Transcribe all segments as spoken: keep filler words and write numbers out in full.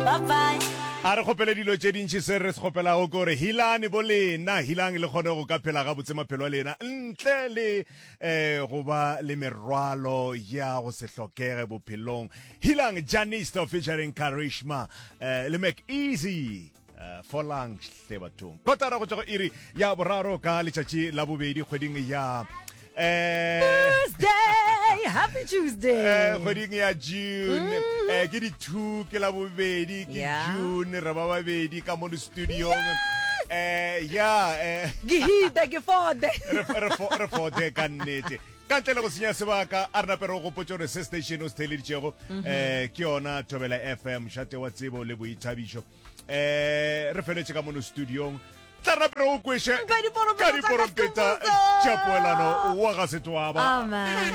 Bye bye. A re kgopele dilo tše dintši, se re se kgopelago ke gore hilane bo lena, hilang le kgone go ka phela gabotse maphelo a lena ntle le um go ba le merwalo ya go se hlokege bophelong. Hilang Janisto featuring Karishma um le Mac Easy. Uh, folang hle bathong. Kotara go tšwa go iri ya boraro ka letšatši la bobedi kgweding ya eh Tuesday, happy Tuesday. Eh, kgweding ya June, eh ke di two, ke la bobedi ke Yeah. June, re ba babedi ka mo studiong, eh ya eh Ke hita ke fode. re re fo- re fote ka nnete. Ka ntle le go senya sebaka, a re nape re go gopotse gore se station o se theeleditšego um ke yona Thobela F M, mošate wa tsebo le boithabišo. um re feletše ka mono studiong, tla re nape re go kweše Ka diporompeta ka tsa diporompeta ka tša poelano wa ga Setwaba. Amen.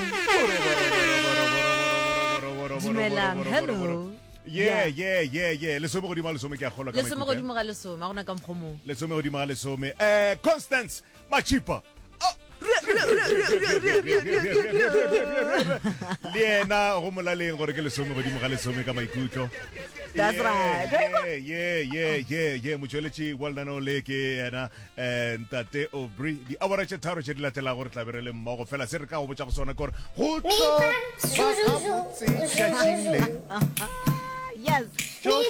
Dumelang, hello. Ye ye ye ye, lesome godimo ga lesome, ke a kgolwa ka Lesome maikutlo, eh? godimo ga lesome, a gona ka mokgwa mong. Lesome godimo ga lesome. um Constance Machipa le yena go molaleng gore ke lesome godimo ga lesome ka maikutlo. That's right. Ye ye ye ye, motšweletši wa lenaneo le ke yena um ntate Aubrey. Diawara tše tharo tše di latelago re tla be re le mmogo. Fela se re ka go botša go sona ke gore go tlo ba gabotse tšatšing le. Yes. Tšohle.